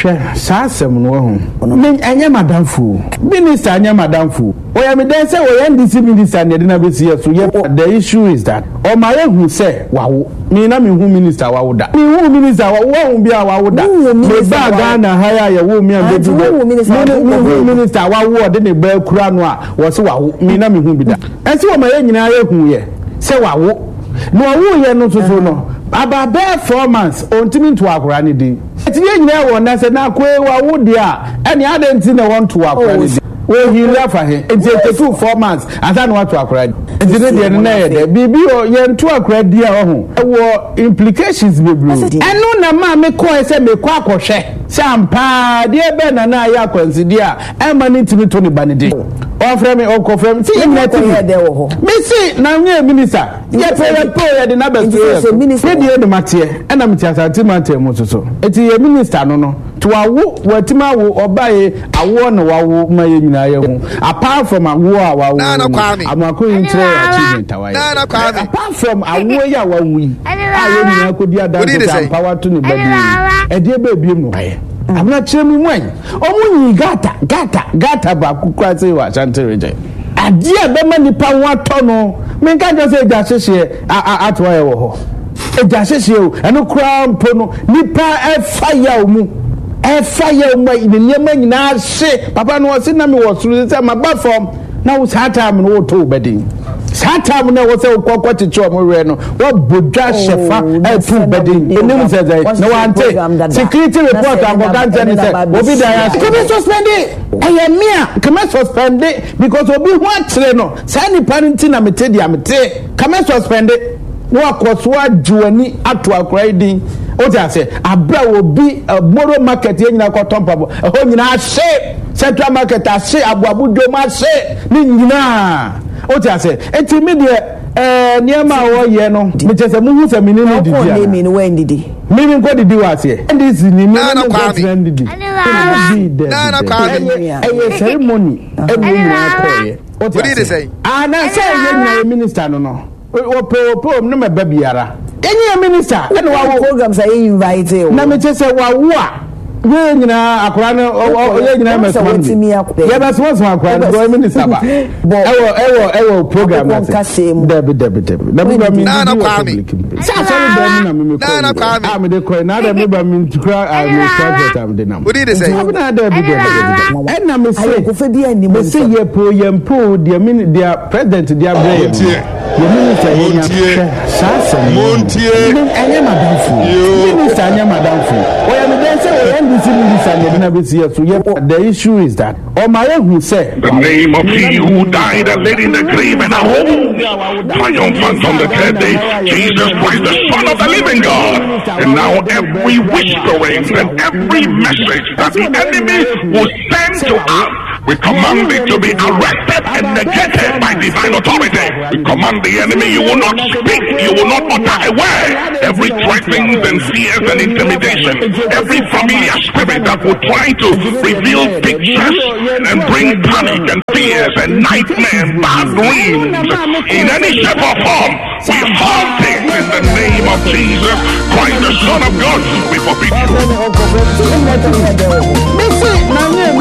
Hwɛ, saa asɛm no wahu. Me, ɛnyɛ m'adamfo o. Minister nyɛ m'adamfo o. Ɔyɛ me dɛn sɛ ɔyɛ NDC minister na yɛde no abɛsi yɛ so. Yɛ, the issue is that ɔma yɛhu sɛ wawo. Me na menhu minister a wawo da. Menhuu minister a wawo, wahu bi a wawo da. Mebaa Ghana ha yi a yɛwoo me a mebɛdu bɛ, me ne, menhuu minister a wawo a ɔde ne ba akura no a wɔse wawo. Me na menhu bi da. Ɛnti wɔma yɛn nyinaa yɛhuiɛ sɛ wawo. Na ɔwoeɛ no nso so no, about bɛyɛ 4 months, ɔntumi nto akwadaa no din. Enti yɛn nyinaa wɔ nnɛ sɛ na akoe wawo deɛ a, ɛnneɛ adɛn nti na wɔnto akwadaa no din? Wɔhili afa he? Enti ɛtekuu 4 months ansa na wɔato akwadaa din. Enti ne deɛ no na ɛyɛ dɛ. Biribi wɔ yɛnto akwadaa din a ɔho ɛwɔ implications bebree. Ɛno na ɛmaa mekɔɛ sɛ mekɔ akɔhwɛ sɛ ampa ara deɛ bɛn na na ayɛ akwansideɛ a ɛmma no ntumi to ne ba no din. Ɔfrɛ me, ɔkɔfrɛ me, sɛ yɛn nyinaa te bi. Mese na nyɛ minister. Yɛpɛ yɛpɛ o yɛde no abɛto yɛ so. Me deɛ na mateɛ ɛna mete Asante mantam mu nso so. Eti yɛ minister no no to awo watumi awo ɔba ye awoɔ na wawo ma yɛ nyinaa yɛ ho apart from awoɔ a wawo no Amoako yi nkyerɛ yɛ achievement a wayɛ apart from awoɔ yi a wawo yi a yɛ nyinaa kɔdi adanse sɛ ampa wato ne ba bi yi ɛdeɛ bɛɛ biem na wayɛ abena kyerɛ mu mu ayi ɔmo nyi gata gata gata baako kura sɛ wɔ Ashanti region. Adeɛ a ɛbɛma nipa ho atɔ no, menka nkyerɛ sɛ egya hyehyeɛ ato ayɛ wɔ hɔ. Egya hyehyeɛ o, ɛno koraa mpo no, nipa ɛfa yaw mu, ɛfa yaw mu ne nneɛma nyinaa hye. Papa no ɔse na mewɔ soro sɛ maba fam na wo saa time no woto wo bɛden. Saa time no ɛwɔ sɛ wokɔ kɔkyekye ɔmo werɛ no, wɔbɔ dwa hyɛ fa oh, ɛto wo bɛden. Onim sɛ sɛ na wante security report ankɔka nkyɛn ne sɛ obi da yɛ ase. Kɔmi suspend. Ɛyɛ me a nka mɛ suspende because obi ho akyere no saa nipa no nti na mete deɛ mete ka mɛ suspende na wakɔ so agye w'ani ato akora yi din wote ase abere a obi eh, moro market yɛ nyinaa kɔtɔ mpaboa ɛhɔ nyinaa ahye central market ahye aboabo dwom ahye ne nyinaa wote ase eti mi deɛ ɛɛ eh, nneɛma a wɔyɛ no mekyɛ sɛ muhu sɛ mene ne didi ana. Me me nkɔ didi wɔ aseɛ. NDC ni me ne nkɔ tena ndidi. Dabi dabi dabi. Ɛyɛ ceremony ɛna yɛn nyinaa kɔɔyɛ. O ti ase. Ana sɛ yɛn nyinaa yɛ minister no no. Wɔpɛ wɔpɛ wɔn ne ma ba biara. Yɛn nyɛ minister ɛna wawo. Programs a yɛ invite o. Na mi kyɛ sɛ wawo a yɛn nyinaa akora no yɛn nyinaa mɛ soma no bi. Yɛ bɛ soma soma akora no bɔ minister ba. Ɛwɔ ɛwɔ ɛwɔ program na se. Dabi dabi dabi. Na mi ba mi ndidi wɔ public mu. Sɛ asɔre dɛm mu na mi mi kɔ yi a mi de kɔ yi na adɛ mi ba mi ntukura a mi transport a mi de nam. Odi de sɛ. Nti na adɛ bi dɛbi dɛbi dɛbi. Ɛna mi se mi se yɛ po yɛ mpo deɛ mi deɛ president de abrɛ yɛ no yɛ minister yɛ nya hwɛ saa asɛm no. Ɛnyɛ madamfo minister nyɛ madamfo ɔyɛ mi dɛn sɛ ɔyɛ NDC minister na yɛde na bɛ si yɛ so yɛ the issue is that. Ɔma yɛhu sɛ. The name of he who died and laid in the grave and arose triumphant on the third day, Jesus Christ, the Son of the living God. And now every whispering and every message that the enemy will send to us, we command it to be arrested and negated by divine authority. We command the enemy, you will not speak, you will not utter a word. Every threatenings and fears and intimidation, every familiar spirit that will try to reveal pictures and bring panic and fears and nightmares, bad dreams in any shape or form. We halt it in the name of Jesus Christ, the Son of God. We forbid you.